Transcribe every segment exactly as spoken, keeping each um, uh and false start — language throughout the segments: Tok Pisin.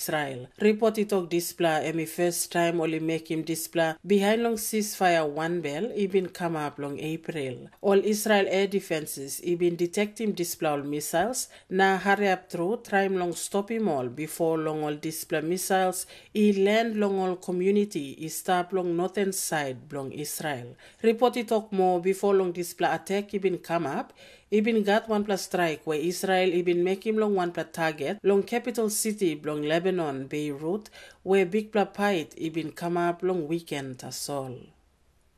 Israel. Ripot i tok dispela em i first taim ol i mekim dispela bihain long ceasefire wanbel i bin kamap long April. Ol Israel air defenses i bin detectim dispela ol missiles na hariap tru traim long stopim ol bipo long ol dispela missiles i land long ol community i stap long northern side bilong Israel. Ripot i tok moa bipo long dispela atak i bin kamap, i bin gat wanpela straik we Israel i bin mekim long wanpela target long capital city bilong Lebanon, Beirut, we bikpela pait i bin kamap long wiken tasol.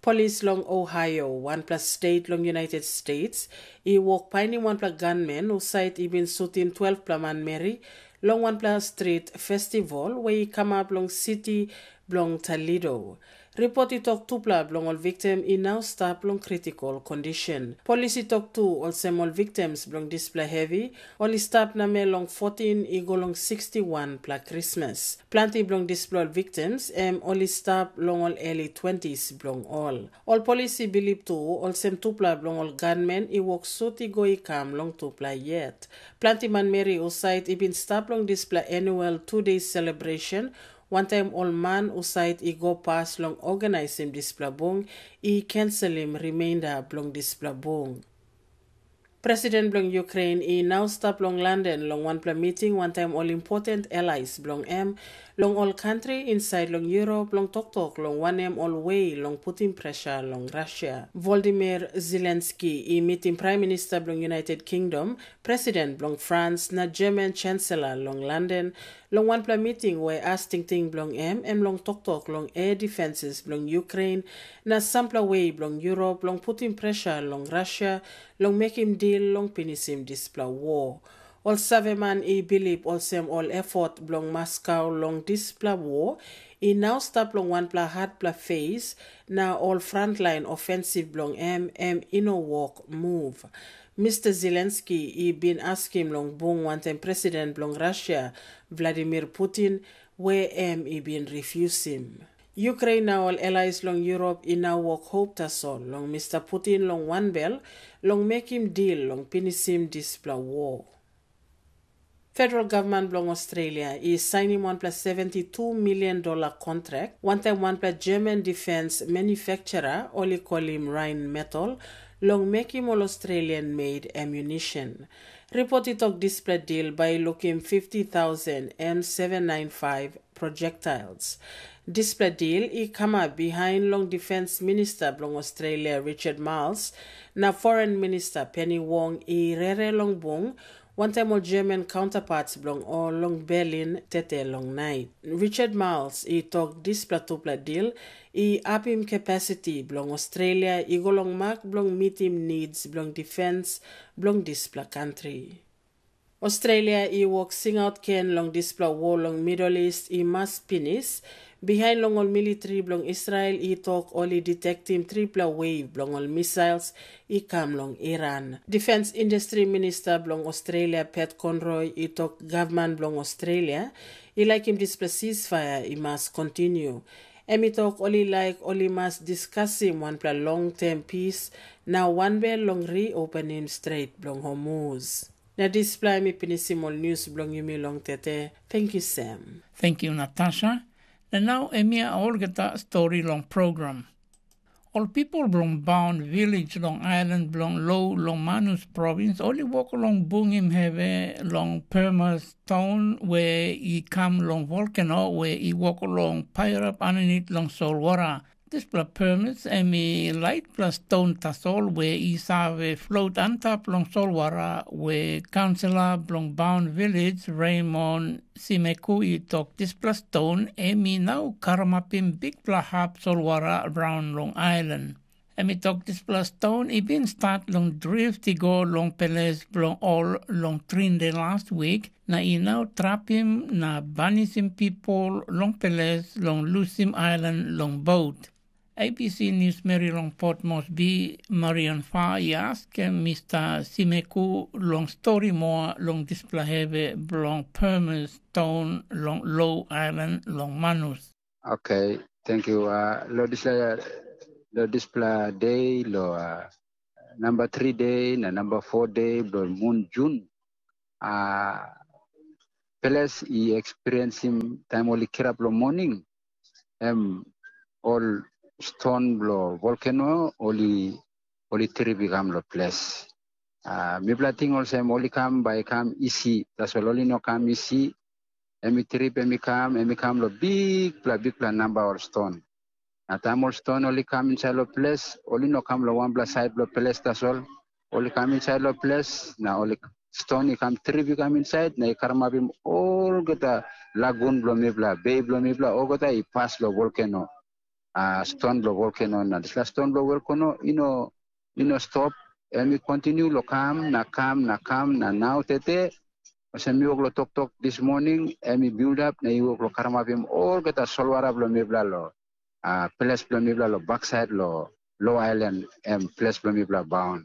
Polis long Ohio, wanpela state long United States, i wok painim wanpela gunman husat i bin sutim twelvpela manmeri long wanpela street festival we i kamap long siti bilong Toledo. Ripot i tok tupela bilong ol victim i nau stap long critical condition. Polis i tok tu olsem ol victims bilong dispela hevi ol i stap namel long fourteen i go long sixty-one pela Krismas. Planti bilong dispela ol victims em ol i stap long ol early twenties bilong ol. Ol polis i bilip tu olsem tupela bilong ol gunmen i wok sut i go i kam long tupela yet. Planti manmeri husat i bin stap long dispela annual two days celebration, wantaim ol man husat i go pas long organisim dispela bung i kenselim rimeinda bilong dispela bung. President bilong Ukraine i nau stap long London long wanpela miting wantaim ol important allies bilong em long ol kantri insait long Europe long toktok long wanem ol we long putim pressure long Russia. Volodymyr Zelensky i mitim Prime Minister bilong United Kingdom, President bilong France na German Chancellor long London long wanpela miting we as tingting bilong em em long toktok long air defenses bilong Ukraine na sampela we bilong Europe long putim pressure long Russia long mekim dil long pinisim dispela war. Ol saveman i bilip olsem ol efot bilong Moscow long dispela war i nau stap long wanpela hatpela fes, na ol frontlain ofensiv bilong em em i no wok move. Mister Zelensky i bin askim long bung wantaim president bilong Russia, Vladimir Putin, we em i bin refusim. Ukraine na ol allies long Europe i nau wok hop tasol long Mister Putin long wanbel long mekim dil long pinisim dispela war. Federal gavman bilong Australia i sainim wanpela seventy two million dollar kontrak wantaim wanpela German defense manufacturer ol i kolim Rheinmetall long mekim ol Australian made ammunition. Ripot i tok dispela dil bai i lukim fifty thousand M seven nine five projectiles. Dispela dil i kamap bihain long Defense Minister bilong Australia Richard Marles na Foreign Minister Penny Wong i rere long bung wantaim ol German counterparts bilong ol long Berlin tete long nait. Richard Marles i tok dispela tupela dil i apim capacity bilong Australia i go long mak bilong mitim needs bilong defense bilong dispela kantri. Australia i wok singaut gen long dispela war long Middle East i mas pinis, bihain long ol militri bilong Israel i tok ol i detektim tripela wave bilong ol missiles i kam long Iran. Defense Industry Minister bilong Australia Pat Conroy i tok gavman bilong Australia i laikim dispela ceasefire i mas kontinu. Em i tok ol i laik ol i mas diskasim wanpela long tem pis na wanbel long reopenim stret bilong Hormuz. Na dispela em i pinisim ol nius bilong yumi long tete. Tenkyu sem. Tenkyu Natasha. Na nau em ia olgeta stori long program. Ol pipel bilong Baun Vilej long ailan bilong Lo long Manus provins ol i wok long bungim hevi long permas ston we i kam long volkano we i wok long pairap aninit long solwara. Dispela permas em i laitpela ston tasol we i save flot antap long solwara we kaunsilor bilong Baun Vilej Raymond Simeku i tok dispela ston em i nau karamapim bikpela hap solwara raun long ailan. Em i tok dispela ston i bin stat long drift i go long peles bilong ol long Trinde las wik na i nau trapim na banisim pipel long peles long lusim ailan long bot. A B C niusmeri long Port Moresby, Marion Fa i askim Mista Simeku long stori moa long dispela hevi bilong permas ston long Lo ailan long Manus. Okay, thank you. Uh, lo dispela lo dispela day lo uh, number three day na number four day bilong mun Jun. Uh, ples i eksperiensim taim ol i kirap long moning, em ol ston bilong volkeno ol i ol i trip i kam long ples. Uh, mipela ting olsem ol i kam bai i kam isi, tasol ol i no kam isi. Em i trip, em i kam, em i kam long bikpela bikpela namba ol ston. Na taim ol ston ol i kam insait long ples, ol i no kam long wanpela sait bilong ples tasol. Ol i kam insait long ples, na ol i ston i kam trip i kam insait, na i karamapim olgeta lagun bilong mipela, bei bilong mipela, olgeta i pas long volkeno. Uh, ston bilong volkeno, na dispela ston bilong volkeno i no i no stop, em i kontinu long kam na kam na kam na nau tete. Olsem mi wok long toktok dis moning, em i bildap na i wok long karamapim olgeta solwara bilong mipela long uh, ples bilong mipela long baksait long lo ailan, em ples bilong mipela baun.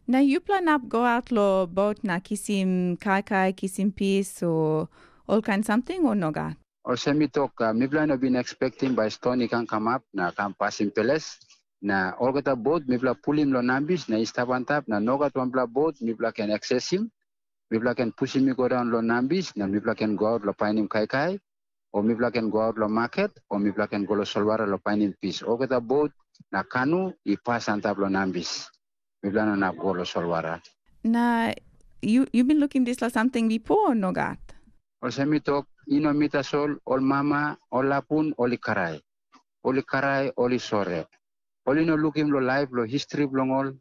Na yupela nap go aut long bot na kisim kaikai, kisim pis, o olkain samting, o nogat? Olsem mi tok, uh, mipela no bin ekspektim bai ston i kan kamap na kam pasim peles. Na olgeta bot mipela pulim long nambis na i stap antap, na nogat wanpela bot mipela ken aksesim. Mipela ken pusim i go daun long nambis, na mipela ken go aut long painim kaikai, o mipela ken go aut long maket, o mipela ken go long solwara long painim pis. Olgeta bot na kanu i pas antap long nambis. Mipela no inap go long solwara. Na yu yu bin lukim dispela samting bipo, o nogat? Olsem mi tok, i no mi tasol, ol mama, ol lapun, ol i karai. Ol i karai, ol i sore. Ol i no lukim long laip, long histri bilong ol,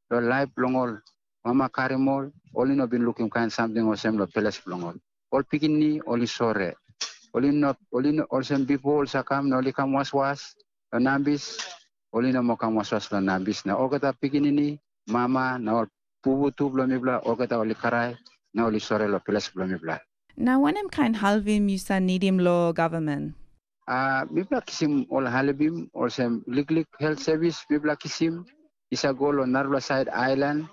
long laip bilong ol. Mama karim ol, ol i no bin lukim kain samting olsem long peles bilong ol. Ol pikinini, ol i sore. Ol i no, ol i no, olsem bipo ol sa kam na ol i kam waswas long nambis, ol i no mo kam waswas long nambis. Na olgeta pikinini, mama, na ol pupu tu bilong mipela, olgeta ol i karai, na ol i sore long ples bilong mipela. Na wanem kain helpim yu sa nidim long gavman? Uh, mipela kisim ol helpim, olsem liklik helt sevis mipela kisim, i sa go long narapela sait ailan,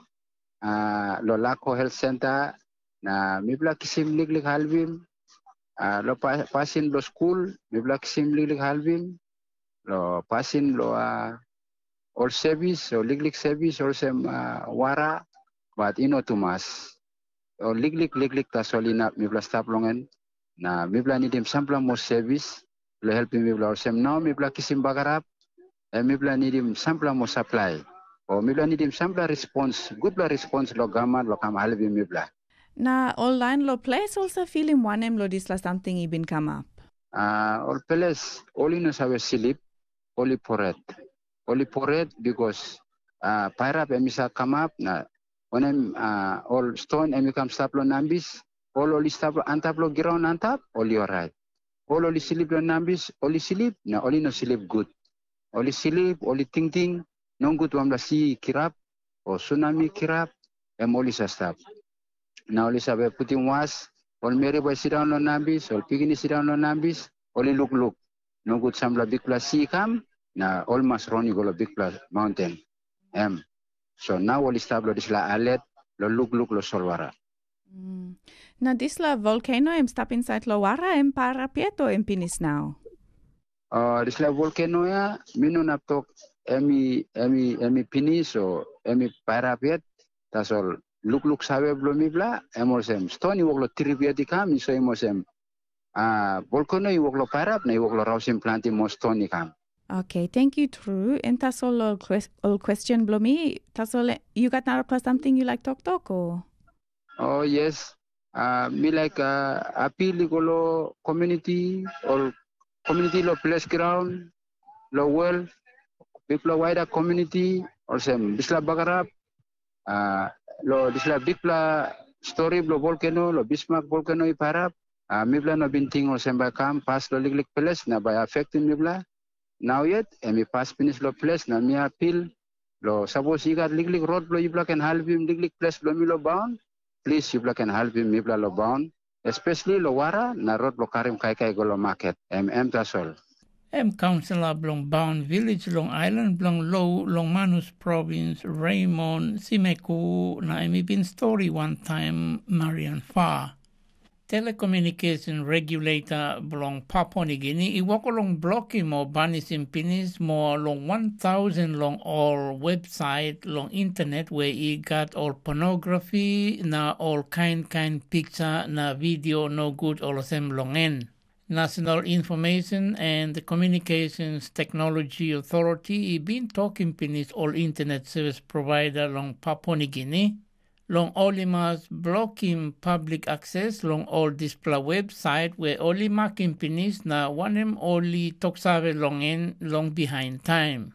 uh, long Lako helt senta, na mipela kisim liklik helpim, uh, long pa, pasin bilong skul, mipela kisim liklik helpim, long pasin bilong uh, ol sevis, ol liklik sevis, olsem uh, wara, bat i no tumas. Ol liklik liklik tasol inap mipela stap long en, na mipela nidim sampela moa sevis bilong helpim mipela. Olsem nau mipela kisim bagarap, em mipela nidim sampela moa saplai, o mipela nidim sampela respons, gutpela respons long gavman long kam helpim mipela. Na ol lain long ples ol sa filim wanem long dispela samting i bin kamap? Uh, ol ples ol i no save slip, ol i poret. Ol i poret bikos uh, pairap em i sa kamap, na wanem, uh, ol ston em i kam stap long nambis, ol ol i stap antap long graun antap, ol i orait. Ol ol i slip long nambis, ol i slip, na ol i no slip gut. Ol i slip, ol i tingting, nogut wanpela si i kirap, o sunami i kirap, em ol i sa stap. Na ol i save putim was, ol meri bai sindaun long nambis, ol pikinini sindaun long nambis, ol i lukluk. Nogut sampela bikpela si i kam, na ol mas ron i go long bikpela maunten. Em. So nau ol i stap long dispela alet, long lukluk long solwara. Mm. Na dispela volkeno em stap insait long wara, em pairap yet, o em pinis nau? Uh, dispela volkeno ya, mi no inap tok em i, em i, em i pinis, o em i pairap yet. Tasol lukluk save bilong mipela, em olsem, ston i wok long trip yet i kam, i soim olsem, uh, volkeno i wok long pairap, na i wok long rausim planti moa ston i kam. Okay, thank you, True. And tasol ol, ol question bilong mi, tasol, eh, you got narapela something you like talk talk, or? Oh, yes. Uh, mi like uh, appeal i go lo community, ol community lo ples ground, lo world, bikpela wider community, olsem, bisla bagarap, uh, lo disla bikpela story blo volcano, lo Bismarck volcano i parap, uh, mipela no bin ting olsem bai kam pas lo liklik ples na bai affectim mipela. Nau yet, em i pas pinis lo ples na mi apil, lo sapos i gat liklik rot blo yupela ken halivim liklik ples blo mi lo baun, plis yupela ken halivim mipela lo baun, espesli lo wara na rot blo karim kaikai go lo maket, em em tasol. Em kaunsilor bilong Baun Vilis long ailan bilong Lou long Manus provins, Raymond Simeku, na em i bin stori wantaim Marian Fa. Telecommunication Regulator bilong Papua Nigini i wok long blokim o banisim pinis moa long wan tausen long ol websait long internet we i gat ol pornografi na ol kain kain piksa na video nogut olsem long en. National Information and Communications Technology Authority i bin tokim pinis ol internet service provider long Papua Nigini, long ol i mas blokim public access long ol dispela websait we ol i makim pinis na wanem ol i toksave long en long bihain taim.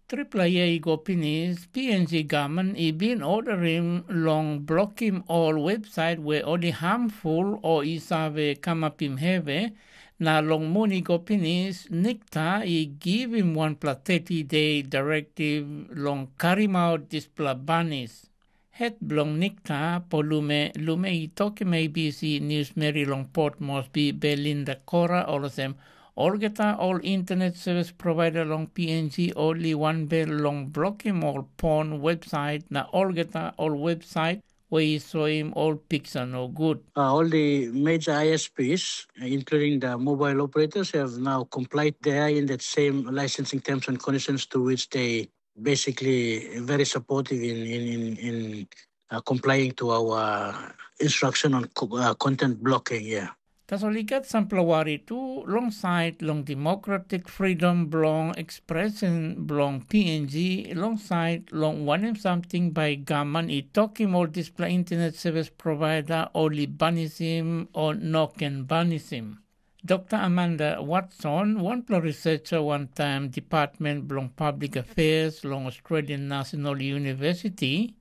Tripela yia i go pinis, P N G gavman i bin orderim long blokim ol websait we ol i hamful o i save kamapim hevi, na long mun i go pinis, Nikta i givim wanpela thirty day directive long karimaut dispela banis. Het bilong Nikta, Polume Lume i tokim A B C News Meri long Port Moresby, Belinda Kora, olsem, olgeta ol internet service provider long P N G ol i wanbel long blokim ol porn website na olgeta ol website we i soim ol piksa nogut. Uh, all the major I S Ps, including the mobile operators, have now complied. They are in that same licensing terms and conditions to which they basically very supportive in in in, in uh, complying to our instruction on co- uh, content blocking. Yeah. Tasol i gat sampela wari tu long sait long demokratik fridom bilong ekspresen bilong P N G long sait long wanem samting bai gavman i tokim ol dispela internet service provider ol i banisim o no ken banisim. Dokta Amanda Watson, wanpela researcher wantaim Department bilong Public Affairs long Australian National University,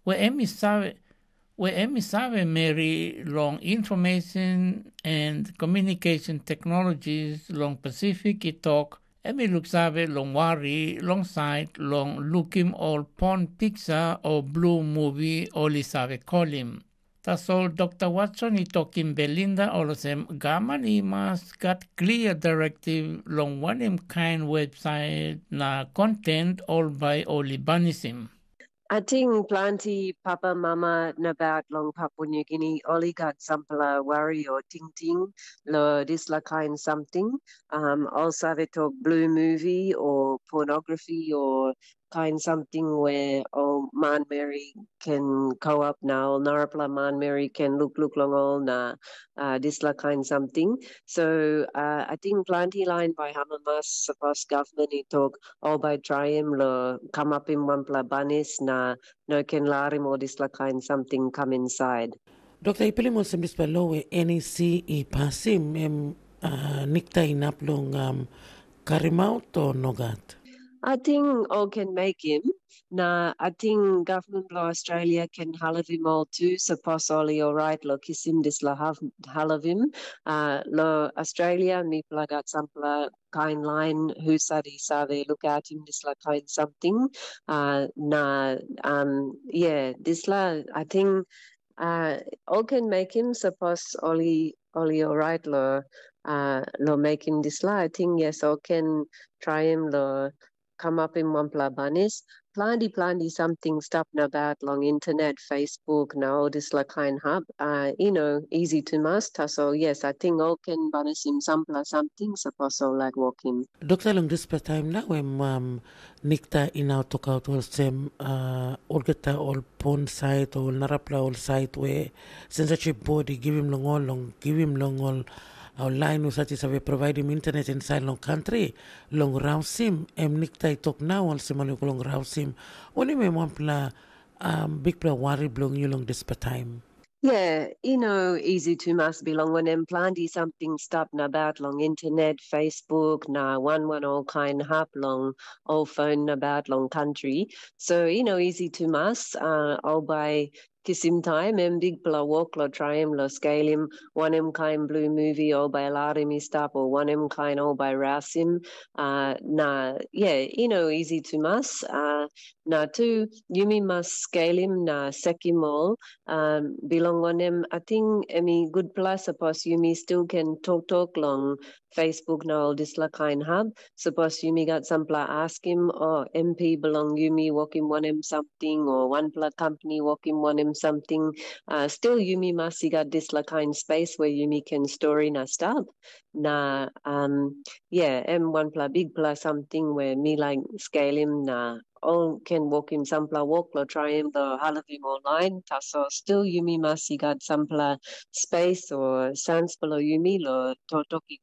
we em i save, we em i save meri long Information and Communication Technologies long Pacific i tok, em i luksave long wari long sait long lukim ol porn piksa o blu muvi ol i save kolim. Tasol Dokta Watson i tokim Belinda olsem gavman i mas gat klia direktiv long wanem kain websait na konten ol bai ol i banisim. Ating planti papa mama nabaut long Papua New Guinea oli gat sampela wari o tingting lo dispela kain samting. Um, ol save tok blue movie o pornography o kain samting we ol manmeri ken kauap na ol narapela manmeri ken lukluk long ol na uh, dispela kain samting. So uh, ating planti lain bai hamamas sapos gavman i tok ol bai traim lo kamapim wanpela banis na no ken larim ol dispela kain samting kam insait. Dokta, i pilim olsem dispela lo we N E C i pasim, em uh, nikta inap long um, karimaut o nogat? Ating ol ken mekim, na ating gavman bilong Australia ken halavim ol tu, sapos ol i orait lo kisim dispela halavim. Uh, lo Australia, mipela gat sampela kain lain husat i save lukautim dispela kain samting. Uh, na, um, yeah, dispela, ating uh, ol ken mekim, sapos ol i, ol i orait lo, uh, lo mekim dispela, ating yes, ol ken traim lo kamapim wanpela banis. Planti, planti samting stap nabaut long internet, Facebook, na ol dispela kain hap. Uh, you know, easy tumas, tasol yes, ating ol ken banisim sampela samting, sapos ol laik wokim. Dokta, long dispela taim nau em um, nikta i nau tokaut olsem uh, olgeta ol pon sait o narapela ol sait we censorship board i givim long ol long givim long ol ol lain husat i save provaidim internet insait long kantri long rausim, em nikta i tok nau olsem ol i go long rausim. Wanem em wanpela um, bikpela wari bilong yu long dispela taim? Yeah, you know, easy tumas bilong wanem planti samting stap nabaut long internet, Facebook, na wan wan ol kain hap long ol phone nabaut long country. So, you know, easy tumas, uh, ol bai kisim taim em bikpela wok lo traim lo skelim wanem kain blue movie ol bai larim i stap o wanem kain ol bai rasim. Uh, na, yeah, you know, easy tumas. Uh, na tu, yumi mas skelim na sekim ol, um, bilong wanem, ating em i gutpela sapos yumi stil ken toktok long Facebook na ol dispela kain hap. Sapos yumi gat sampela askim, o M P bilong yumi wokim wanem samting, o wanpela kampani wokim wanem samting, uh, stil yumi mas i gat dispela kain space where yumi can story na stap. Na um, yeah, em wanpela bigpela samting where mi like scalim na all can wokim sampela wok lo trying lo halivim online. Tasol still yumi mas i gat sampela space or sans below yumi lo totoki